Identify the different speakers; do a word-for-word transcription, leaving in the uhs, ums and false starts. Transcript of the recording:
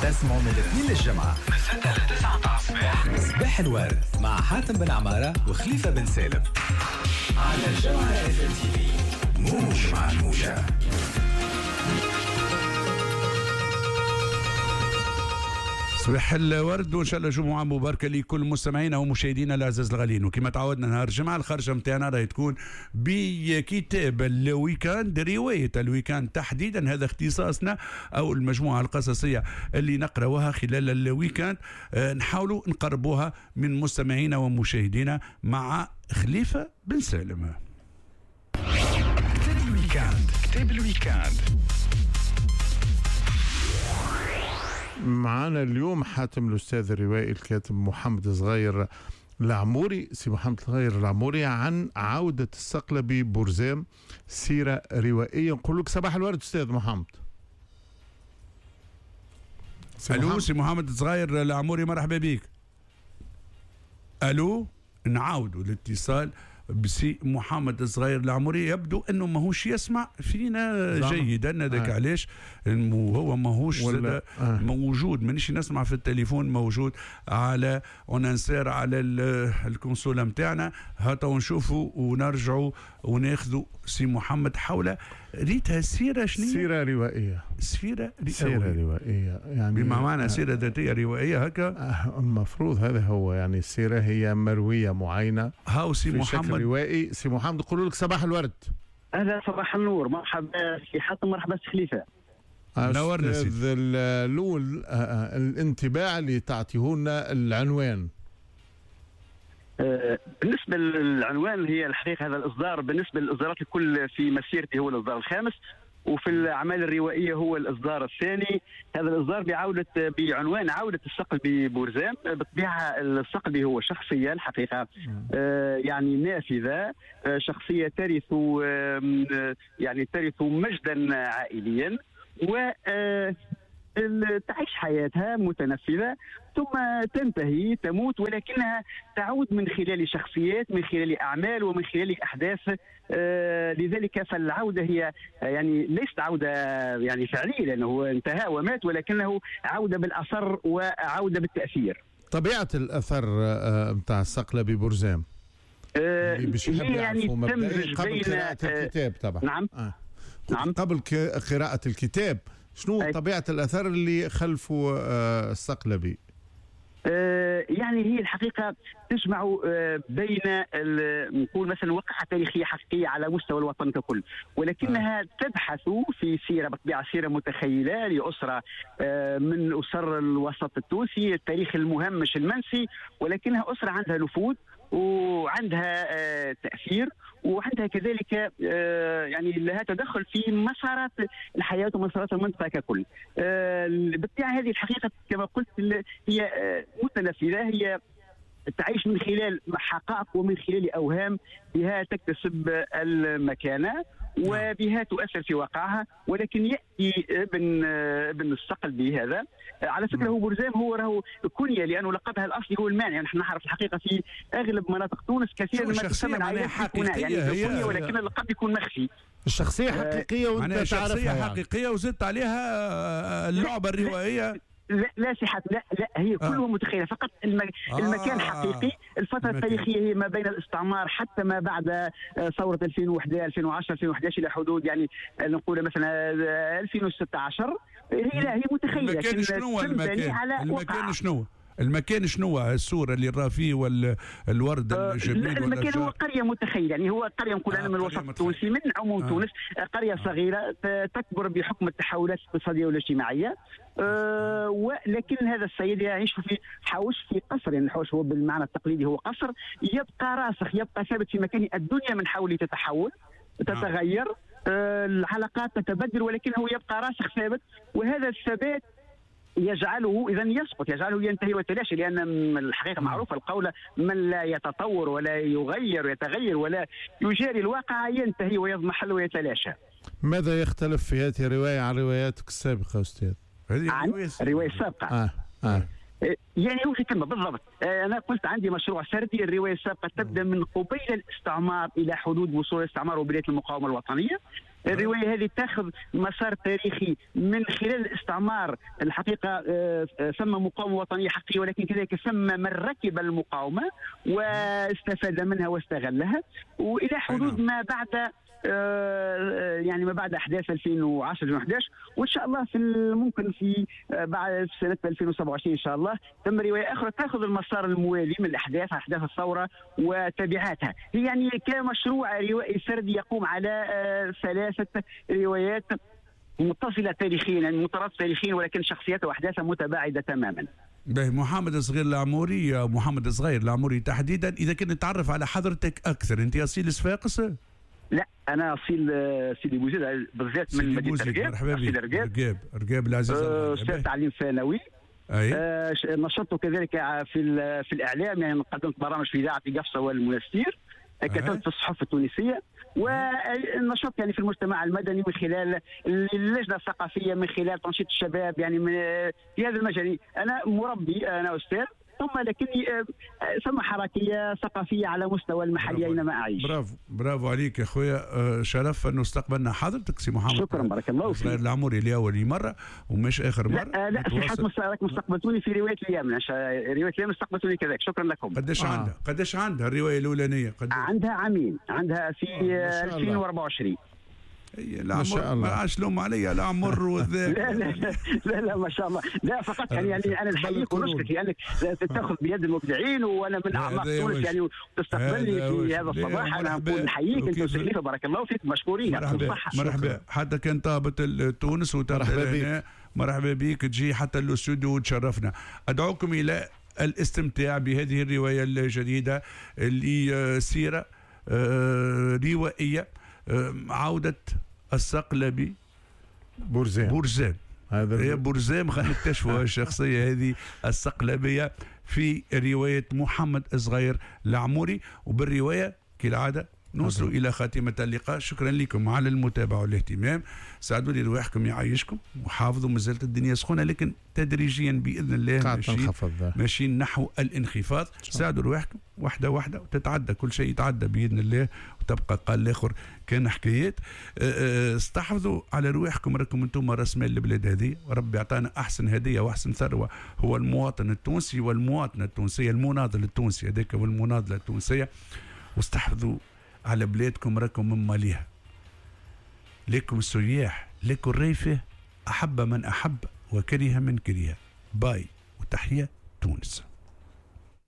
Speaker 1: تسمعوا من الاثنين للجمعة من ستة ل تسعة متاع الصباح. صباح الورد مع حاتم بن عمارة وخليفة بن سالم على الجوهرة اف ام تي في، موج مع الموجة.
Speaker 2: صباح الورد وان شاء الله جمعه مباركة لكل مستمعينا ومشاهدينا الاعزاز الغاليين. وكما تعودنا نهار الجمعة الخرجه نتاعنا راهي تكون بكتاب ال week-end، رواية ال week-end تحديدا، هذا اختصاصنا او المجموعة القصصيه اللي نقراوها خلال ال week-end، نحاولوا نقربوها من مستمعينا ومشاهدينا مع خليفة بن سالم.
Speaker 1: كتاب ال week-end، كتاب ال week-end
Speaker 3: معنا اليوم حاتم الأستاذ الروائي الكاتب محمد صغير العموري. سي محمد صغير العموري عن عودة الصقلبي بورزام، سيرة روائية. نقول لك صباح الورد أستاذ محمد.
Speaker 2: ألو سي محمد صغير العموري، مرحبا بك. ألو، نعاودوا الاتصال بسي محمد الصغير العموري، يبدو انه ماهوش يسمع فينا جيدا، هذاك آه. علاش هو ماهوش آه. موجود، مانيش نسمع في التليفون، موجود على on insère على ال console نتاعنا. هاتوا ونشوفوا ونرجعوا وناخذوا سي محمد حول ريتها سيره شنو؟
Speaker 3: سيره روائيه.
Speaker 2: سيره روائيه،
Speaker 3: سيره روائيه يعني
Speaker 2: بما معنى سيره ذاتية روائيه هكا.
Speaker 3: آه المفروض هذا هو، يعني السيرة هي مرويه معينة.
Speaker 2: هاو سي محمد
Speaker 3: روائي. سي محمد نقول لك صباح الورد.
Speaker 4: اهلا، صباح النور، مرحبا سي حاتم، مرحبا سي خليفة.
Speaker 2: نورنا سيدي.
Speaker 3: الاول الانطباع اللي تعطيه لنا العنوان.
Speaker 4: بالنسبة للعنوان، هي الحقيقة هذا الاصدار بالنسبة للاصدارات الكل في مسيرتي هو الاصدار الخامس، وفي الاعمال الروائيه هو الاصدار الثاني. هذا الاصدار بعوده بعنوان عوده الصقلبي بورزام. بالطبيعة الصقلبي هو شخصية الحقيقة آه يعني نافذة، آه شخصية ترث آه يعني ترث مجدا عائليا و آه تعيش حياتها متنفذة، ثم تنتهي تموت، ولكنها تعود من خلال شخصيات، من خلال أعمال، ومن خلال أحداث. آه لذلك فالعودة هي يعني ليست عودة يعني فعلية لأنه انتهى ومات، ولكنه عودة بالأثر وعودة بالتأثير.
Speaker 3: طبيعة الأثر نتاع الصقلبي بورزام
Speaker 4: آه هي يعني تمزج
Speaker 3: قبل قراءة الكتاب طبعا.
Speaker 4: نعم
Speaker 3: آه.
Speaker 4: نعم،
Speaker 3: قبل قراءة الكتاب شنو أي. طبيعة الأثر اللي خلفه الصقلبي؟
Speaker 4: آه يعني هي الحقيقة تجمع آه بين نقول مثلا وقعة تاريخية حقيقية على مستوى الوطن ككل، ولكنها آه. تبحث في سيرة، بالطبيعة سيرة متخيلة لأسرة آه من أسر الوسط التونسي، التاريخ المهمش المنسي، ولكنها أسرة عندها نفوذ وعندها آه تأثير، وعندها كذلك آه يعني لها تدخل في مسارات الحياة ومسارات المنطقة ككل. آه بالطبيعة هذه الحقيقة كما قلت هي آه متنفذة، هي تعيش من خلال حقائق ومن خلال أوهام، بها تكتسب المكانة وبها تؤثر في واقعها. ولكن يأتي ابن ابن الصقلبي هذا، على فكرة هو بورزام هو راهو كنية، لأنه لقبها الأصلي هو المانع. نحن نعرف الحقيقة في أغلب مناطق تونس كثيرا ما تسمى العائلات يعني كنية، ولكن اللقب يكون مخفي.
Speaker 3: الشخصية حقيقية وأنت تعرفها،
Speaker 2: شخصية يعني حقيقية وزدت عليها اللعبة الروائية.
Speaker 4: لا لا صحة، لا لا هي كلها آه. متخيلة، فقط المك... آه. المكان حقيقي. الفترة المكان التاريخية هي ما بين الاستعمار حتى ما بعد ثورة ألفين وواحد ألفين وعشرة ألفين وأحد عشر إلى حدود يعني نقول مثلا ألفين وستة عشر. هي لا هي متخيلة.
Speaker 2: المكان شنو؟ المكان المكان شنو؟ المكان شنو؟ الصورة اللي راه فيه والورد الجميل.
Speaker 4: المكان هو قرية متخيلة، يعني هو قرية نقول أنا من الوسط التونسي، من عموم آه. تونس، قرية آه. صغيرة تكبر بحكم التحولات الاقتصادية والاجتماعية. أه ولكن هذا السيد يعيش في حوش، في قصر، يعني الحوش هو بالمعنى التقليدي هو قصر، يبقى راسخ، يبقى ثابت في مكانه. الدنيا من حوله تتحول تتغير، أه العلاقات تتبدل، ولكنه يبقى راسخ ثابت، وهذا الثبات يجعله اذا يسقط، يجعله ينتهي ويتلاشى، لان الحقيقة معروفة القول من لا يتطور ولا يغير ويتغير ولا يجاري الواقع ينتهي ويضمحل ويتلاشى.
Speaker 3: ماذا يختلف في هذه الرواية عن رواياتك السابقة استاذ؟
Speaker 4: عن الرواية السابقة
Speaker 3: آه. آه.
Speaker 4: يعني هو في تم بالضبط. انا قلت عندي مشروع سردي. الرواية السابقة تبدا من قبيل الاستعمار الى حدود وصول الاستعمار وبداية المقاومة الوطنية. الرواية هذه تاخذ مسار تاريخي من خلال الاستعمار. الحقيقة ثم مقاومة وطنية حقيقية، ولكن كذلك ثم من ركب المقاومة واستفاد منها واستغلها، والى حدود ما بعد يعني ما بعد احداث ألفين وعشرة ألفين وأحد عشر، وان شاء الله في ممكن في بعد سنة ألفين وسبعة وعشرين ان شاء الله تم رواية اخرى تاخذ المسار الموالي من الاحداث، احداث الثورة وتبعاتها. هي يعني كمشروع روائي سردي يقوم على ثلاثة روايات متصلة تاريخيا، يعني مترابطة تاريخيا، ولكن شخصياتها واحداثها متباعدة تماما.
Speaker 2: باهي محمد الصغير العموري، محمد الصغير العموري تحديدا، اذا كنت نتعرف على حضرتك اكثر، انت اصيل صفاقس؟
Speaker 4: لا، انا اصيل سيدي بوزيد بالذات من مدينة رقاب.
Speaker 2: مرحبا بك. رقاب رقاب العزيز.
Speaker 4: استاذ تعليم ثانوي. أي. آه نشطت كذلك في في الاعلام، يعني قدمت برامج في اذاعة قفصه والمنستير، كتبت في الصحف التونسية، ونشطت يعني في المجتمع المدني من خلال اللجنة الثقافية، من خلال تنشيط الشباب، يعني من في هذا المجال. انا مربي، انا استاذ، ثم لكني ثم حركية ثقافية على مستوى المحلي اينما اعيش.
Speaker 2: برافو برافو عليك يا خويا، شرف انه استقبلنا حضرتك سي محمد.
Speaker 4: شكرا، بارك الله فيك.
Speaker 2: العموري لاول مرة ومش اخر مرة.
Speaker 4: لا لا، في حد استقبلتوني في رواية اليمن، رواية اليمن استقبلتوني كذلك، شكرا لكم.
Speaker 2: قداش آه. عندها قداش عندها الرواية الاولانية؟ قداش
Speaker 4: عندها؟ عامين، عندها في آه. ألفين وأربعة وعشرين.
Speaker 2: لا ما شاء الله، ما عادش لوم عليا لا عمر والذاك.
Speaker 4: لا لا لا لا ما شاء الله، لا فقط يعني يعني انا نحييك ونشكرك لانك تاخذ بيد المبدعين، وانا من اعماق تونس يعني وتستقبلني في هذا الصباح. انا نقول نحييك انت وسليفه، بارك الله فيك، مشكورين.
Speaker 2: مرحبا مرحبا، حتى كان طابت تونس وترحبا بك، مرحبا بك، تجي حتى الاستوديو وتشرفنا. ادعوكم الى الاستمتاع بهذه الرواية الجديدة اللي سيره روائيه، عوده الصقلبي
Speaker 3: بورزام.
Speaker 2: بورزام هذا هي بورزام، خلينا نكتشفوا الشخصية هذه الصقلبيه في رواية محمد الصغير العموري. وبالروايه كالعادة نوصل الى خاتمه اللقاء. شكرا لكم على المتابعة والاهتمام، ساعدوا لي رواحكم يعيشكم، وحافظوا، مازالت الدنيا سخونة لكن تدريجيا باذن الله ماشيين ماشيين نحو الانخفاض. ساعدوا رواحكم واحدة واحدة وتتعدى كل شيء، يتعدى باذن الله وتبقى قال الاخر كان حكايات. استحفظوا على رواحكم، راكم انتم راس مال البلاد هذه، وربي اعطانا احسن هديه واحسن ثروة هو المواطن التونسي والمواطنه التونسية، المناضل التونسي هذاك والمناضله التونسية. واستحفظوا على بلادكم، راكم من ماليها، لكم السياح، لكم الريفه، أحب من أحب وكره من كره. باي وتحية تونس.